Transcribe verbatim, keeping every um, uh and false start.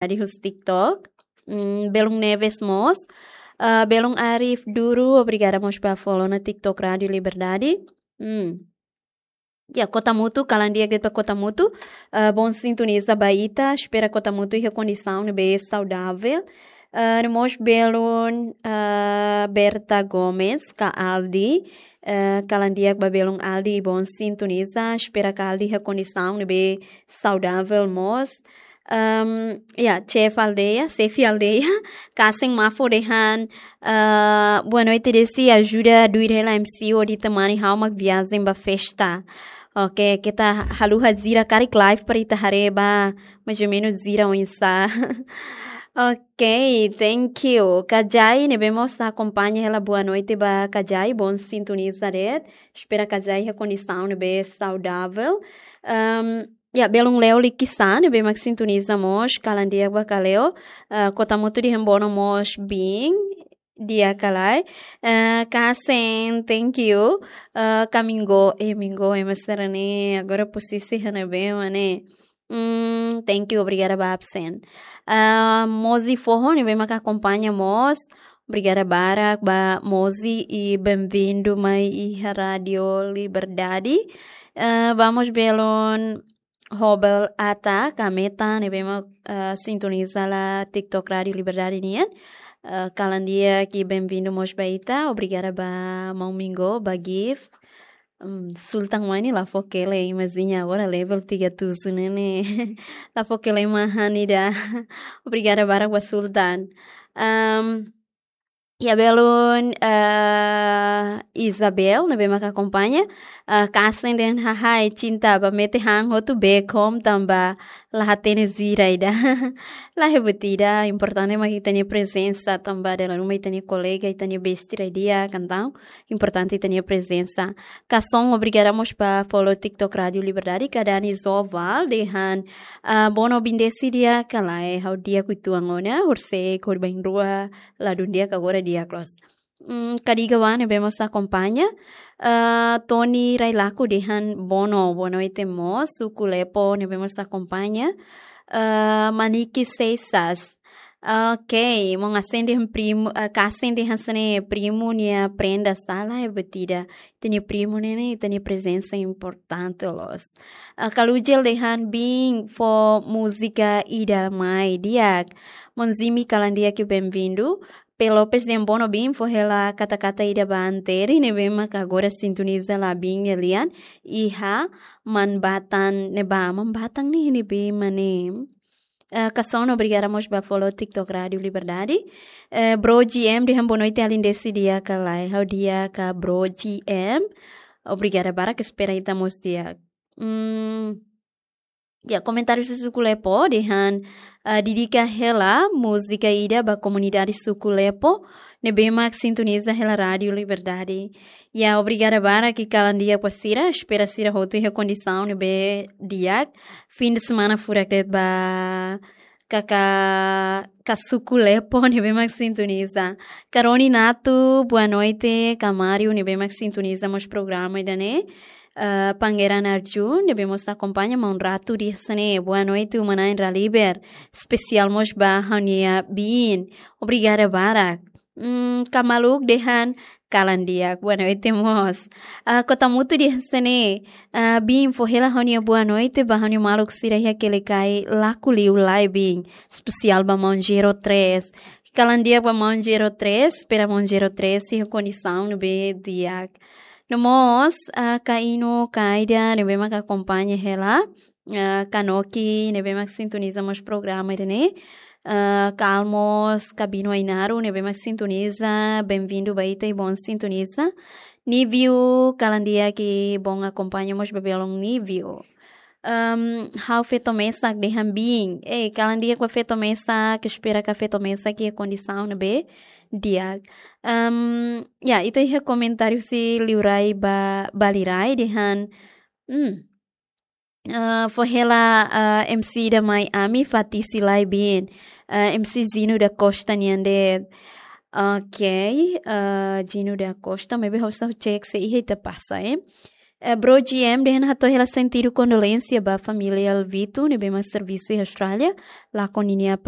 Liberdade husi TikTok. Hmm, belun Neves mós. Ah, belun Arif Duru, obrigada mós ba follow ona TikTok Rádio Liberdade. Hmm. Ya, Kota Mutu, kalan di'ak de'it ba Kota Mutu. Ah, bom sintoniza ba ita, espera Kota Mutu iha kondisaun ne'ebé saudável. Ah, no mós belun, ah, Berta Gomes, ka Aldi. Ah, kalan di'ak ba belun Aldi, bom sintoniza, espera ka Aldi iha kondisaun ne'ebé saudável mós. Ahm, ya, chef aldeia, chefe aldeia, Kasen Mafo dehan, ah, boa noite, Desi, ajuda duir hela M C hodi temani ha'u mak viajen ba festa. Oke, keta haluha jira karik live para ita haree ba, mais ou menos jira oinsá. Ok, thank you. Kajai, ne'ebé mós akompaña hela, boa noite ba Kajai, bom sintoniza de'it. Espera Kajai iha kondisaun ne'ebé saudável. Ahm, Ya, belun Leo Likisá, ne'ebé mak sintoniza mós, kalan di'ak ba ka Leo. Ah, Kota Mutu dehan bono mós biin, di'ak ka lae. Ah, Kasen, thank you. Ah, ka Mingo, eh, Mingo, ema sira-ne'e, agora posisi iha ne'ebé mak ne'e. Hmm, thank you, obrigada ba absen. Ah, Mozi Foho, ne'ebé mak akompaña mós. Obrigada barak ba Mozi i bem-vindo mai iha Rádio Liberdade. Ah, vamos belun Hobel Ata, ka Meta, ne'ebé mak, ah, sintoniza hela TikTok Rádio Liberdade nian. Ah, kalan di'ak i bem-vindo mós ba ita. Obrigada ba maun Mingo, ba Gift. Hmm, Sultan mai ne'e la fó kele, imajina agora level tiga tujuh ne'e ne'e. La fó kele mahan ida. Obrigada barak ba Sultan. Ahm, Ya, belun, eh, Isabel, ne'ebé mak akompaña. Eh, Kasen dehan hahai, cinta, ba mete han hotu bekom tanba la hatene jira ida. La iha buat ida, importante mak ita-nia prezensa, tanba dala ruma ita-nia kolega, ita-nia besti rai di'ak, entaun importante ita-nia prezensa. Kason, obrigada mós ba follow TikTok Rádio Liberdade, ka Dani Zoval, dehan, ah, bono biin Desi di'ak ka lae, ha'u di'ak uitoan ona, horisehik hodi bá iha rua, ladún di'ak, agora di'ak loos. Hmm, Kadiga Wan ne'ebé mós akompaña. Ah, Tony Railaku dehan bono, boa noite mós, Suku Lepo ne'ebé mós akompaña. Ah, Maniki Seixas. Ok, maun Asen dehan primu, ah, Kasen dehan hanesan ne'e primu nia prenda sala, eh, buat ida. Ita-nia primu ne'e ne'e, ita-nia prezensa importante loos. Ah, Kalujel dehan biin fó múzika ida mai di'ak. Maun Zimi kalan di'ak i bem-vindo. P Lopes dehan bono biin fó hela kata-kata ida ba Anteri ne'ebé mak agora sintoniza hela biin nia lian iha Manbatang ne'ebá. Manbatang ne'e ne'ebé mak ne'e. Eh, Kason, obrigada mós ba follow TikTok Rádio Liberdade. Eh, Bro G M dehan boa noite, alin Desi di'ak ka lae, ha'u di'ak ka Bro G M. Obrigada barak, espera ita mós di'ak. Hmm, Ya, komentáriu husi Suku Lepo dehan, ah, dedika hela múzika ida ba komunidade Suku Lepo ne'ebé mak sintoniza hela Rádio Liberdade. Ya, obrigada barak i kalan di'ak ba sira, espera sira hotu iha kondisaun ne'ebé di'ak. Fim de semana furak de'it ba kaka, ka Suku Lepo ne'ebé mak sintoniza. Karoni Natu, boa noite, ka Mário ne'ebé mak sintoniza mós programa ida-ne'e. Eh, Pangeran Arjun, ne'ebé mós akompaña, maun Ratu dehan hanesan ne'e, boa noite, uma-na'in Raliber. Espesiál mós ba ha'u-nia biin. Obrigada barak. Hmm, ka Maluk dehan kalan di'ak, boa noite mós. Ah, Kota Mutu dehan hanesan ne'e, ah, biin fó hela ha'u-nia boa noite ba ha'u-nia maluk sira iha Kelikai, la ko'alia lai biin. Espesiál ba maun Zero Três. Kalan di'ak ba maun Zero Três, espera maun Zero Três iha kondisaun ne'ebé di'ak. No mós, ah, ka Inu, ka Aida, ne'ebé mak akompaña hela. Ah, ka Noki, ne'ebé mak sintoniza mós programa ida-ne'e. Ah, ka Almos, ka Bino Ainaro, ne'ebé mak sintoniza, bem-vindo ba ita i bom sintoniza. Nívio, kalan di'ak i bom akompaña mós ba belun Nívio. Ahm, ha'u feto mesak dehan biin. Eh, kalan di'ak ba feto mesak, espera ka feto mesak iha kondisaun ne'ebé di'ak. Ahm, ya, ita iha komentáriu husi Liurai ba, ba Liurai dehan. Hmm. Ah, fó hela, ah, M C ida mai ami, Fatisi lai biin. Ah, M C Gino da Costa nian de'it. Ok, ah, Gino da Costa, maibé ha'u só cek se iha ita pasa, eh. Bro G M dehan hato'o hela sentidu kondolénsia ba família Alvito ne'ebé mak servisu iha Austrália, lakon ninia apa